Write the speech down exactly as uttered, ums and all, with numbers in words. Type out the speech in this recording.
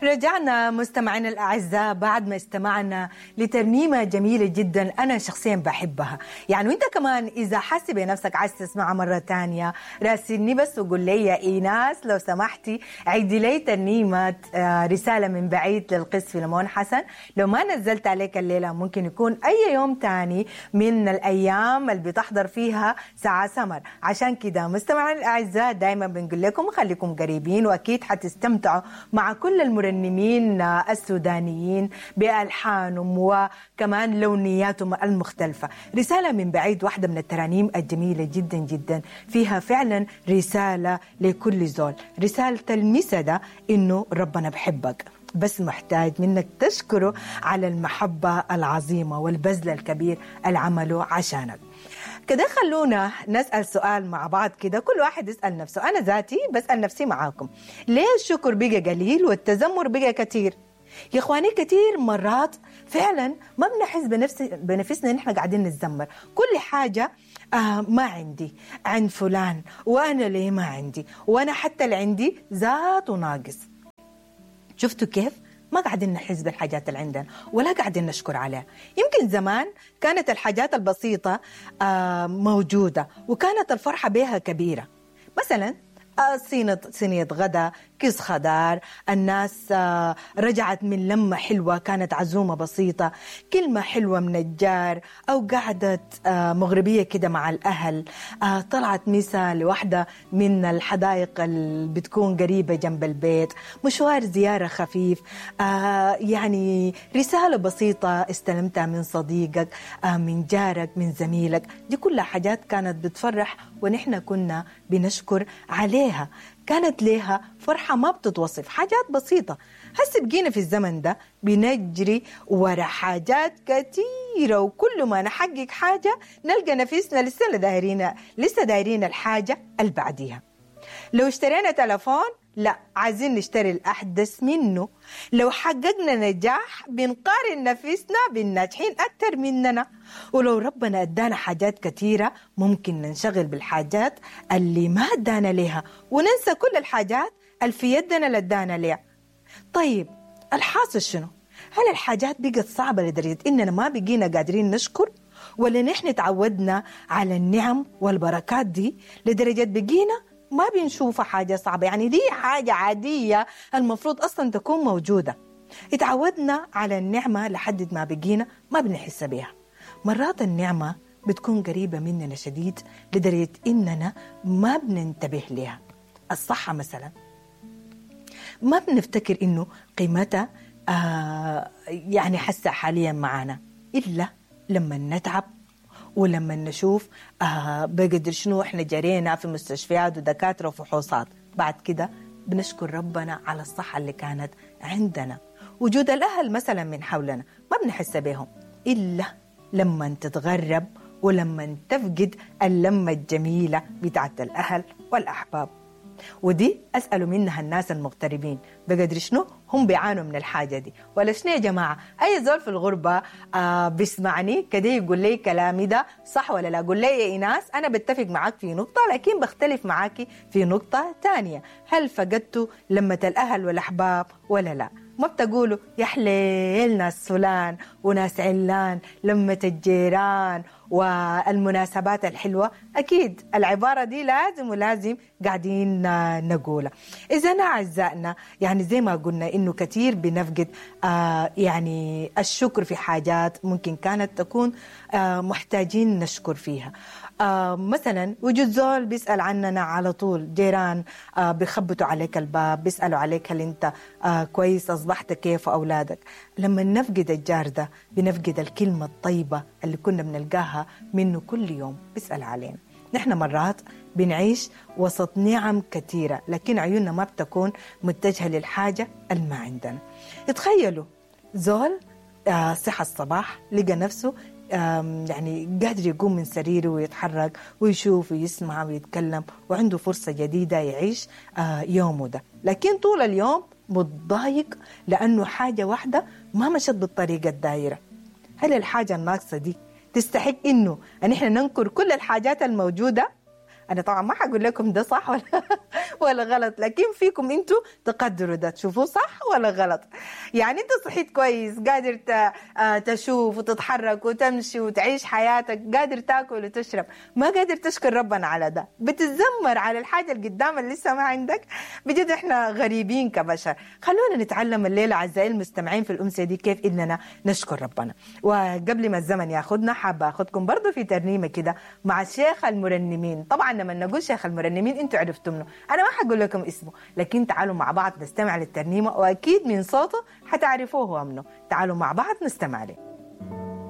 رجعنا مستمعينا الأعزاء بعد ما استمعنا لترنيمة جميلة جدا أنا شخصيا بحبها. يعني وانت كمان إذا حاسي بنفسك عايز تسمعها مرة تانية راسلني بس وقول لي يا إيناس لو سمحتي عيدي لي ترنيمة رسالة من بعيد للقس فيلمون حسن. لو ما نزلت عليك الليلة ممكن يكون أي يوم تاني من الأيام اللي بتحضر فيها ساعة سمر. عشان كده مستمعينا الأعزاء دايما بنقول لكم خليكم قريبين وأكيد حتستمتعوا مع كل المرنمين المرنمين السودانيين بألحانهم وكمان لونياتهم المختلفة. رسالة من بعيد واحدة من الترانيم الجميلة جدا جدا، فيها فعلا رسالة لكل زول. رسالة المسا ده إنه ربنا بحبك، بس محتاج منك تشكره على المحبة العظيمة والبذل الكبير اللي عمله عشانك. كده خلونا نسأل سؤال مع بعض كده، كل واحد يسأل نفسه، أنا ذاتي بسأل نفسي معاكم، ليه الشكر بقى قليل والتذمر بقى كتير؟ يا إخواني كتير مرات فعلا ما بنحس بنفس بنفسنا إن إحنا قاعدين نتذمر، كل حاجة آه ما عندي عند فلان، وأنا ليه ما عندي، وأنا حتى اللي عندي ذاته ناقص. شفتوا كيف؟ ما قاعدين نحس بالحاجات اللي عندنا ولا قاعدين نشكر عليها. يمكن زمان كانت الحاجات البسيطة موجودة وكانت الفرحة بها كبيرة. مثلا صينة صينية غدا، كيس خضار، الناس رجعت من لمة حلوة كانت عزومة بسيطة، كلمة حلوة من الجار، أو قعدة مغربية كده مع الأهل، طلعت مسا لوحدة من الحدائق اللي بتكون قريبة جنب البيت، مشوار زيارة خفيف، يعني رسالة بسيطة استلمتها من صديقك، من جارك، من زميلك. دي كلها حاجات كانت بتفرح ونحن كنا بنشكر عليها، كانت لها فرحة ما بتتوصف، حاجات بسيطة. هسه بقينا في الزمن ده بنجري ورا حاجات كثيرة، وكل ما نحقق حاجة نلقى نفسنا لسه دايرين لسه دايرين الحاجة اللي بعديها. لو اشترينا تلفون لا عايزين نشتري الأحدث منه، لو حققنا نجاح بنقارن نفسنا بالناجحين أكثر مننا، ولو ربنا أدانا حاجات كثيرة ممكن ننشغل بالحاجات اللي ما أدانا لها وننسى كل الحاجات اللي في يدنا اللي أدانا لها. طيب الحاصل شنو؟ هل الحاجات بقت صعبة لدرجة إننا ما بقينا قادرين نشكر؟ ولا نحن تعودنا على النعم والبركات دي لدرجة بقينا ما بنشوفها حاجة صعبة؟ يعني دي حاجة عادية المفروض أصلا تكون موجودة. اتعودنا على النعمة لحد ما بقينا ما بنحس بها. مرات النعمة بتكون قريبة مننا شديد لدرجة إننا ما بننتبه لها. الصحة مثلا ما بنفتكر إنه قيمتها آه يعني حاسة حاليا معنا إلا لما نتعب ولما نشوف آه بقدر شنو احنا جرينا في مستشفيات ودكاترة وفحوصات. بعد كده بنشكر ربنا على الصحة اللي كانت عندنا. وجود الأهل مثلا من حولنا ما بنحس بهم إلا لما تتغرب ولما تفقد اللمة الجميلة بتاعت الأهل والأحباب. ودي أسألوا منها الناس المغتربين بقدر شنو هم بيعانوا من الحاجة دي ولا شنو يا جماعة؟ أي زول في الغربة آه بيسمعني كده يقول لي كلامي ده صح ولا لا؟ قول لي يا إيناس أنا بتفق معاك في نقطة لكن بختلف معاكي في نقطة تانية. هل فقدتوا لمة الأهل والأحباب ولا لا؟ ما بتقولوا يا حليل ناس فلان وناس علان، لمة الجيران والمناسبات الحلوة؟ أكيد العبارة دي لازم ولازم قاعدين نقولها. إذا أعزائنا يعني زي ما قلنا إنه كثير بنفقد آه يعني الشكر في حاجات ممكن كانت تكون آه محتاجين نشكر فيها. آه مثلا وجود زول بيسأل عننا على طول، جيران آه بيخبطوا عليك الباب، بيسألوا عليك هل أنت آه كويس، أصبحت كيف، أولادك. لما نفقد الجار ده بنفقد الكلمة الطيبة اللي كنا بنلقاها منه كل يوم بيسأل علينا. نحن مرات بنعيش وسط نعم كثيرة لكن عيوننا ما بتكون متجهة للحاجة اللي ما عندنا. تخيلوا زول آه صحى الصباح لقى نفسه يعني قادر يقوم من سريره ويتحرك ويشوف ويسمع ويتكلم وعنده فرصة جديدة يعيش يومه ده، لكن طول اليوم متضايق لأنه حاجة واحدة ما مشت بالطريقة الدائرة. هل الحاجة الناقصة دي تستحق إنه أن إحنا ننكر كل الحاجات الموجودة؟ انا طبعا ما حقول لكم ده صح ولا ولا غلط، لكن فيكم انتوا تقدروا ده تشوفوه صح ولا غلط. يعني انت صحيت كويس، قادر تشوف وتتحرك وتمشي وتعيش حياتك، قادر تاكل وتشرب، ما قادر تشكر ربنا على ده، بتتذمر على الحاجة اللي قدام اللي لسه ما عندك. بجد احنا غريبين كبشر. خلونا نتعلم الليلة اعزائي المستمعين في الامسيه دي كيف اننا نشكر ربنا. وقبل ما الزمن ياخذنا حابة اخذكم برضو في ترنيمة كده مع شيخ المرنمين. طبعا لما نقول شيخ المرنمين انتوا عرفتوا منه، انا ما حقول لكم اسمه، لكن تعالوا مع بعض نستمع للترنيمه واكيد من صوته حتعرفوه هو منه. تعالوا مع بعض نستمع له.